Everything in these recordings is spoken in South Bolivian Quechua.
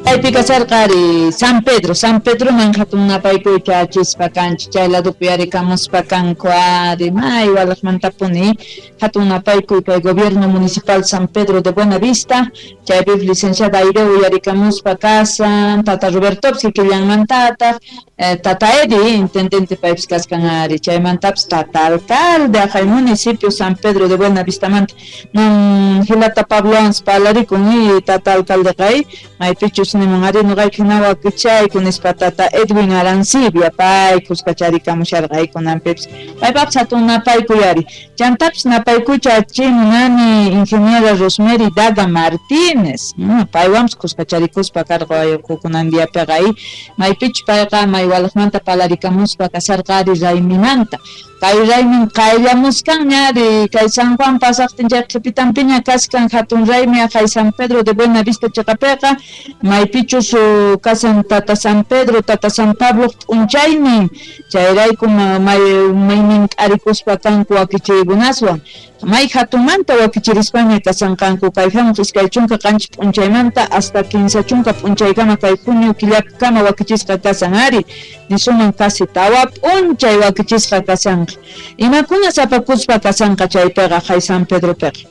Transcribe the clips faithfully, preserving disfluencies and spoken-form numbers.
Chaypi kasharqa ari San Pedro, San Pedroman hatun napaykuyta achispa kanchik, chay ladopi yarikamuspa kanku ari may walaqmantapuni hatun napaykuy kay gobierno municipal San Pedro de Buenavista, chaypi licenciada Aireu yarikamuspa kasan, tata Robertopis kikillanmantataq, eh, tata Edi intendente paypis kaskan ari, chaymantapis tata alcalde ajay municipio San Pedro de Buenavistamanta, nun hilata Pabloans parlarikun y tata alcalde kay maypichus nimun ari nuqayku hina wakichayku nispa tata Edwin Arancibia pay kuskacharikamusharqayku nanpipis paypapis hatun napaykuy ari, chantapis napaykucha achimunani ingeniera Rosemary Daga Martínez, mm, paywanpis kuskacharikuspa karqa kunan diapiqa ay maypichus payqa maywalaqmanta parlarikamuspa kasharqa ari raymimanta, kay raymin qayllamuskanña ari kay San Juan pasaqtin chay qhipitanpiña kashkan hatun raymi ajay San Pedro de Buenavista chiqapiqa maypichus kasan tata San Pedro tata San Pablo p'unchaynin, chayrayku may maynin k'arikuspa kanku wakichiykunaswan may hatunmanta wakichirispaña kasanqanku kay hamuq iskay chunka qanchis p'unchaymanta hasta kinsa chunka p'unchaykama kay junio killapikama wakichisqa kasan ari nisuman casi tawa p'unchay wakichisqa kasanqa, imakuna sapakuspa kasanqa chaypiqa hay San Pedropiqa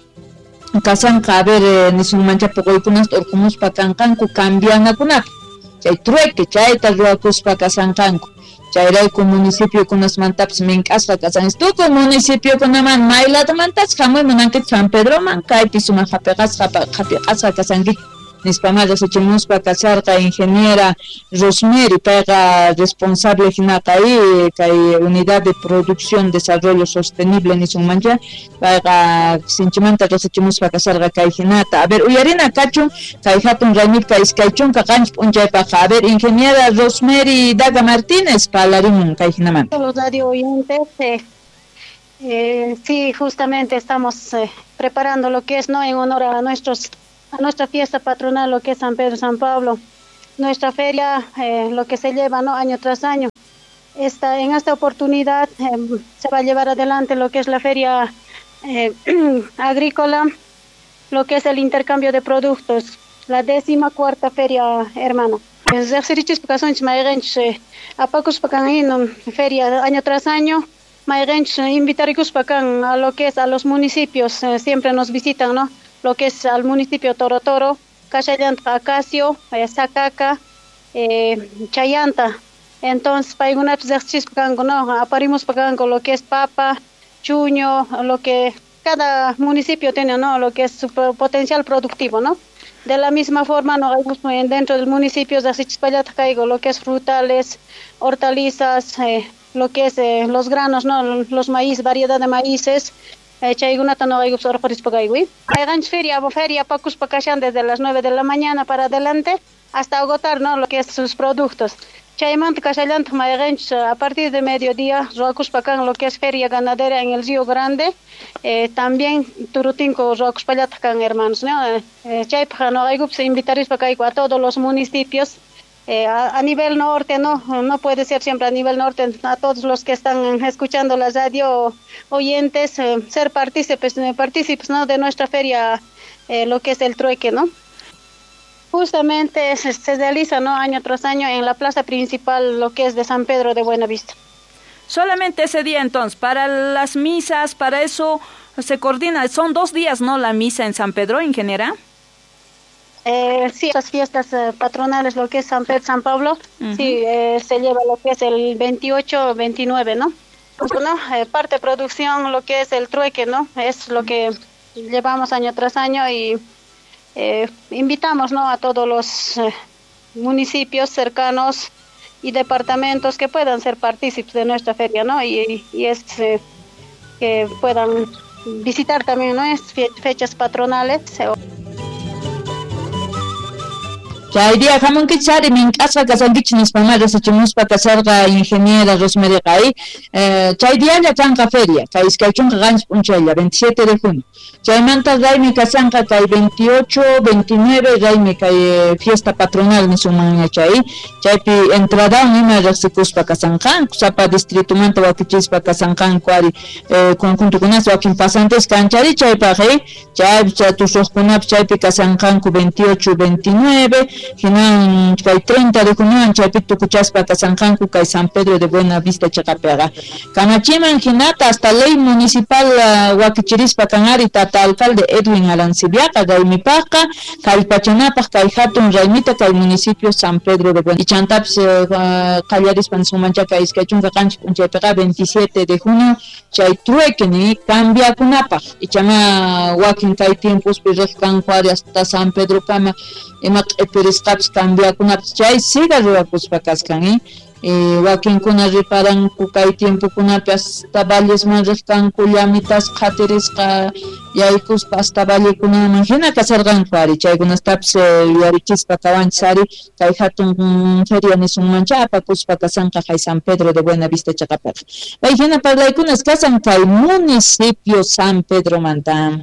kasanqa a ver nisunmancha puquykunasta urqumuspa kanqanku cambianakunapaq chay trueque chayta ruwakuspa kasanqanku, chayrayku municipiokunasmantapis mink'asqa kasan tukuy municipiokunaman may ladomantas hamuy munankichik San Pedroman kaypi sumaq hapiqasqa hapiqasqa kasankichik nispama riqsichimuspa kasharqa ingeniera Rosemary payqa responsable hinaqa y kay unidad de producción desarrollo sostenible nisunmancha payqa sinchimanta riqsichimuspa kasharqa kay hinata, a ver uyarina kachun kay hatun raymipqa iskay chunka qanchis p'unchaypaqqa, a ver ingeniera Rosemary Daga Martínez parlarimun kay hinamanta. Los radio oyentes, eh, eh, sí, justamente estamos eh, preparando lo que es, ¿no?, en honor a nuestros a nuestra fiesta patronal, lo que es San Pedro, San Pablo, nuestra feria, eh, lo que se lleva, ¿no?, año tras año. Esta, en esta oportunidad eh, se va a llevar adelante lo que es la feria eh, agrícola, lo que es el intercambio de productos, la décima cuarta feria hermana. Feria año tras año, a lo que es a los municipios, eh, siempre nos visitan, ¿no?, lo que es al municipio Toro Toro, Cachayanta, Acacio, eh, Sacaca, eh, Chayanta. Entonces, no, aparimos lo que es papa, chuño, lo que cada municipio tiene, ¿no?, lo que es su potencial productivo, ¿no? De la misma forma, no, dentro del municipio de Axichispayata, lo que es frutales, hortalizas, eh, lo que es eh, los granos, ¿no?, los maíz, variedad de maíces. Chaykunata no hay feria, feria pakuspa kashan desde las nueve de la mañana para adelante hasta agotar, ¿no?, lo que es sus productos. Chaymanta kashallanta mayqanchis a partir de mediodía ruwakuspa kan lo que es feria ganadera en el Río Grande, eh, también turutinko ruwakuspallataq kan hermanos, ¿no? Eh, chaypaq noqaykupis invitarispa kayku a todos los municipios. Eh, a, a nivel norte, no, no puede ser siempre a nivel norte, a todos los que están escuchando la radio, oyentes, eh, ser partícipes, partícipes, ¿no?, de nuestra feria, eh, lo que es el trueque, ¿no? Justamente se, se realiza, ¿no?, año tras año en la plaza principal, lo que es de San Pedro de Buenavista. Solamente ese día entonces, para las misas, para eso se coordina, son dos días, ¿no?, la misa en San Pedro, ingeniera. Eh, sí, las fiestas eh, patronales, lo que es San Pedro, San Pablo, uh-huh. sí, eh, se lleva lo que es el veintiocho, veintinueve, ¿no? ¿No? Eh, parte de producción, lo que es el trueque, ¿no? Es lo que llevamos año tras año y eh, invitamos, ¿no?, a todos los eh, municipios cercanos y departamentos que puedan ser partícipes de nuestra feria, ¿no? Y, y es eh, que puedan visitar también, ¿no?, es fechas patronales. Chay día hamunkichik ari mink'asqa kasankichik nispamá riqsichimuspa kasharqa ingeniera Rosemary qay, eh, chay dialla kanqa feria kay iskay chunka qanchis p'unchaylla veintisiete de junio, chaymanta raymi kasanqa kay veintiocho, veintinueve raymi kay eh, fiesta patronal nisunmanña chay, chaypi entradawan ima riqsikuspa kasanqanku sapa distritumanta wakichispa kasanqanku ari eh, conjuntukunas wakin pasantes kanchari chaypaq eh, chay tusuqkunapis chaypi kasanqanku veintiocho, veintinueve. Hinan kay treinta de junio chaypi tukuchaspa kasanqanku kay San Pedro de Buena Vista chaqapiqa. Kamachiman hinata hasta ley municipal uh, wakichirispa kanari tata alcalde Edwin Arancibiaqa raymipaqqa kallpachanapaq kay hatun raymita kay municipio San Pedro de Buena. Ichantapis uh, qallarispa nisunmanchaka iskay chunka qanchis p'unchaypiqa veintisiete de junio chay trueque ni cambiakunapaq ichama wakin kay tiempospi riq kanku ari hasta San Pedro kama ima q'ipirisqapis cambiakunapaq chay siga ruwakuspa kaskan eh Eh, wakinkuna riparanku kay tiempokunapi hasta vallesman riq kanku llamitas qhatirisqa yaykuspa hasta vallekunaman hina kasarqanku ari chaykunastapis yuyarichispa kawanchis ari kay hatun feria nisunmancha apakuspa kasanqa kay San Pedro de Buena Vista chaqapiqa. Kay hina parlaykunas kasan kay municipio San Pedromanta.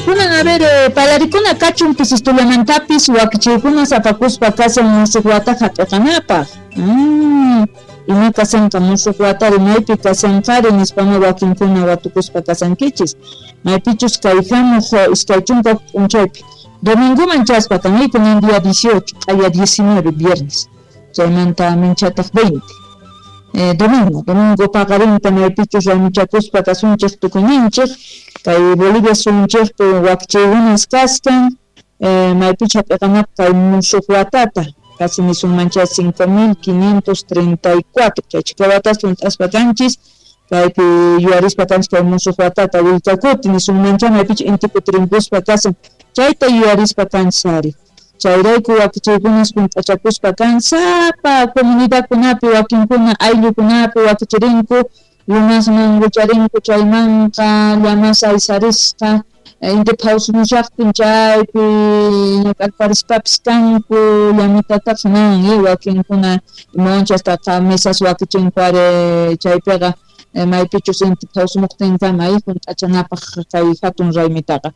Kunan a ver, eh, palarikuna kachun pisistulamantapis wakichiykuna apakuspa kasan musuq wata hap'iqanapaq. Mm, ima kasanqa musuq watari maypi kasanqari nispama wakinkuna watukuspa kasankichis. Maypichus kay hamuq iskay chunka p'unchaypi. Domingoman chaspa kan kunan día dieciocho, q'aya diecinueve viernes. Chaymanta minchataq veinte. Eh, domingo, domingo paqarinta maypichus raymichakuspa kasunchik tukuyninchik. Kay Bolivia sunchikpi wakichiykunas kaskan eh, maypicha hap'iqanapaq kay musuq watata casi nisunmancha cinco mil quinientos treinta y cuatro chay chika watas hunt'aspa kanchis kaypi yuyarispa kanchis kay musuq watata willkakuti nisunmancha maypicha inti kutirinkuspa kasan chayta yuyarispa kanchis ari chayrayku wakichiykunas hunt'achakuspa kan sapa comunidadkunapi wakinkuna ayllukunapi wakichirinku lumasman wicharinku chaymanqa llamas aysarisqa inti phawsumushaqtin chaypi ñak'arparispapis kanku llamitataq nan wakinkuna imawancha hasta mesas wakichinku ari chaypiqa maypichus inti phawsumuqtinkama hunt'achanapaq kay hatun raymitaqa.